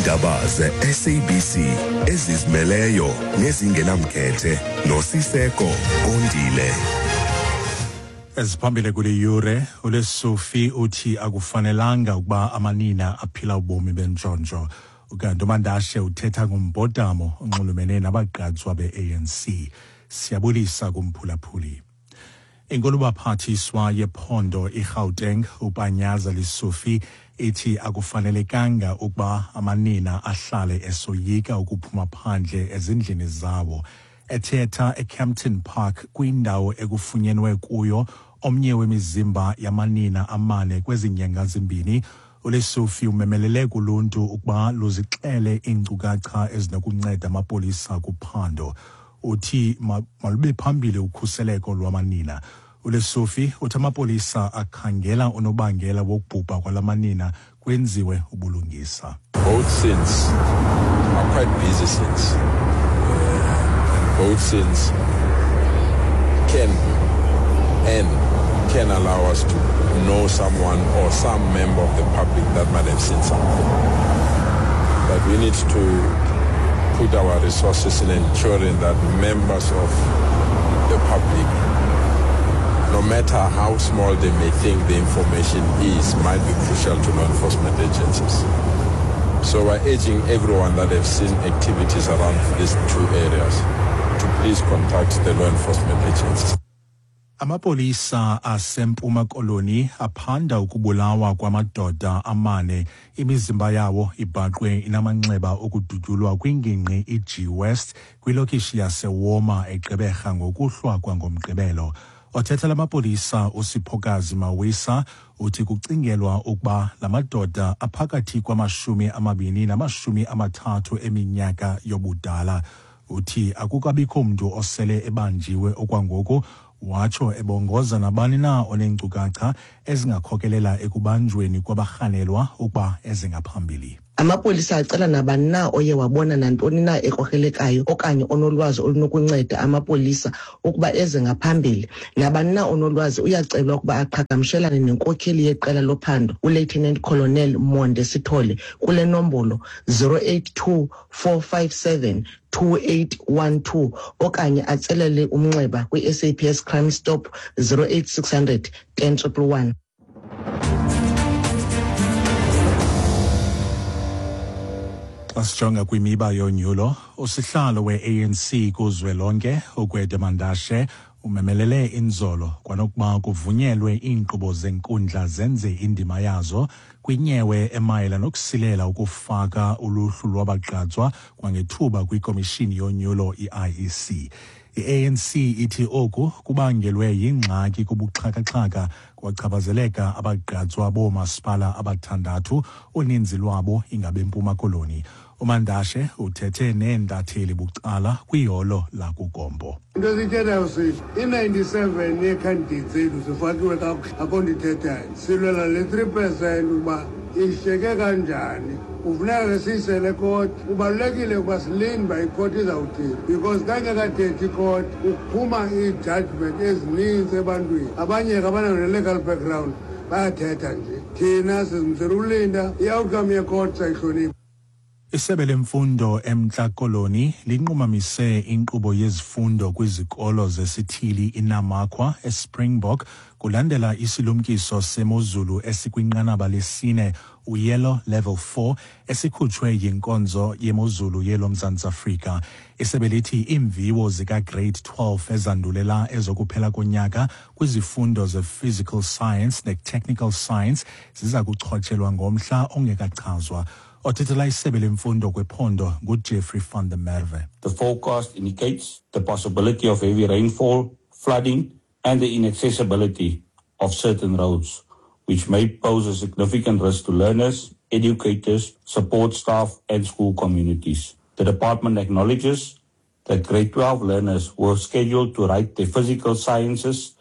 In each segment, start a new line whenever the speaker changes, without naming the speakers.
Iindaba ze-SABC ezizimeleyo nezingenamkhethe noSiseko Kondile.
Eziphambili kule yure, uLesufi uthi akufanelanga ukuba amanina aphila ubomi bentshontsho. Ukanti uMandashe uthetha ngombhodamo onxulumene nabagqatswa be-ANC. Siyabulisa kumphulaphuli. Inkulubaphathiswa yephondo iGauteng uPanyaza Lesufi ithi akufanelekanga ukuba amanina ahlale esoyika ukuphuma phandle ezindlini zawo. Ethetha eKempton Park kwindawo ekufunyenwe kuyo omnye wemizimba yamanina amane kwezi nyanga zimbini, uLesufi umemelele kuluntu ukuba luzixele iinkcukacha ezinokunceda amapolisa kuphando. Uthi malube phambili ukhuseleko lwamanina. ULesufi uthi amapolisa akhangela unobangela wokubhubha kwalamanina kwenziwe ubulungisa.
Both scenes are quite busy scenes. And both scenes can and can allow us to know someone or some member of the public that might have seen something. But we need to put our resources in ensuring that members of the public, no matter how small they may think the information is, might be crucial to law enforcement agencies. So we're urging everyone that have seen activities around these two areas to please contact the law enforcement agencies.
Amapolisa aseMpuma Koloni aphanda ukubulawa kwamadoda amane, imizimba yawo ibhaqwe inamanxeba okudutyulwa kwingingqi iG West kwilokishi yaseWoma eGqeberha ngokuhlwa kwangoMgqibelo. Othetha lamapolisa uSiphokazi Mawisa uthi kucingelwa ukuba la madoda aphakathi kwamashumi amabini namashumi amathathu eminyaka yobudala. Uthi akukabikho mntu osele ebanjiwe okwangoku, watsho ebongoza nabani na oneenkcukacha ezingakhokelela ekubanjweni kwabarhanelwa ukuba ezingaphambili.
Amapolisa acela nabani na oye wabona nantoni na ekrokrelekayo okanye onolwazi olunokunceda amapolisa ukuba eze ngaphambili. Nabani na onolwazi uyacelwa ukuba aqhagamshelane nenkokheli yeqela lophando uLieutenant Colonel Monde Sithole kule nombolo 082 457 2812 okanye atselele umnxeba kwi-SAPS Crime Stop 08600 10111.
Xa sijonga kwimiba yonyulo, usihlalo we-ANC kuzwelonke uGwede Mandashe umemelele inzolo kwanokuba kuvunyelwe iinkqubo zenkundla zenze indima yazo kwinyewe emayela nokusilela ukufaka uluhlu lwabagqatswa kwangethuba kwikomishini yonyulo i-IEC. I-ANC ithi oku kubangelwe yingxaki kubuxhakaxhaka kwachaphazeleka abagqatswa boomasipala abathandathu, uninzi lwabo ingabeMpuma Koloni. UMandashe uthethe neentatheli bucala kwiholo lakuGompo.
Into esiyithethayo sithi i-97 yeekhandidates zethu zifakiwe kakuhle, akho nto ithethayo. Silwela le 3% ukuba ishiyeke kanjani. Kufuneka ke siyisele ekoti. Kubalulekile ukuba silinde uba ikhoti izawuthini, because xa ingekathethi ikhoti kuphuma ii-judgment ezininzi ebantwini. Abanye ke abanayo ne-legal background bayathetha nje. Thina sizimisele ulinda i-outcome yekhoti, sayihlonipha.
Isebe lemfundo eMntla Koloni linqumamise inkqubo yezifundo kwizikolo zesithili iNamakwa eSpringbok kulandela isilumkiso semozulu esikwinqanaba lesine, uyellow level 4, esikhutshwe yinkonzo yemozulu yeloMzantsi Afrika. Isebe lithi iimviwo zikagrade 12 ezandulela ezokuphela konyaka kwizifundo ze-physical science ne-technical science ziza kuchotshelwa ngomhla ongekachazwa. Othethela isebe lemfundo kwephondo nguJeffrey van der Merwe.
The forecast indicates the possibility of heavy rainfall, flooding and the inaccessibility of certain roads, which may pose a significant risk to learners, educators, support staff and school communities. The department acknowledges that grade 12 learners were scheduled to write their physical sciences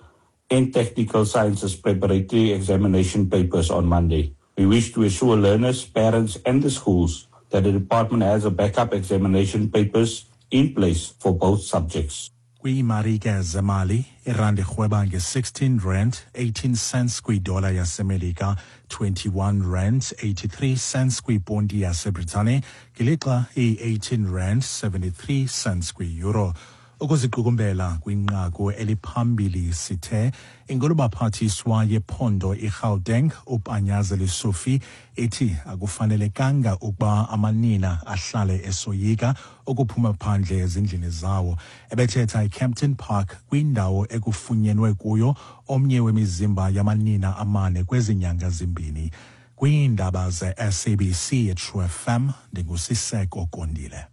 and technical sciences preparatory examination papers on Monday. We wish to assure learners, parents and the schools that the department has a backup examination papers in place for both subjects.
Kwiimarike zemali, irandi irhweba nge-16 rand 18 cents kwidola yaseMelika, 21 rand 83 cents kwiponti yaseBritane, ngelixa iyi-18 rand 73 cents kwi-euro. Ukuziqukumbela kwinqaku eliphambili sithe inkulubaphathiswa yephondo iGauteng uPanyaza Lesufi ithi akufanelekanga ukuba amanina ahlale esoyika ukuphuma phandle ezindlini zawo. Ebethetha eKempton Park kwindawo ekufunyenwe kuyo omnye wemizimba yamanina amane kwezi nyanga zimbini. Kwiindaba ze-SABC eTrue FM, ndinguSiseko Kondile.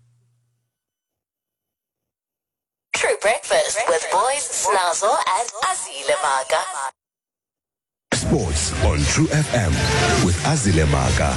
True Breakfast with Boys, Snazo, and Azile Maga.
Sports on True FM with Azile Maga.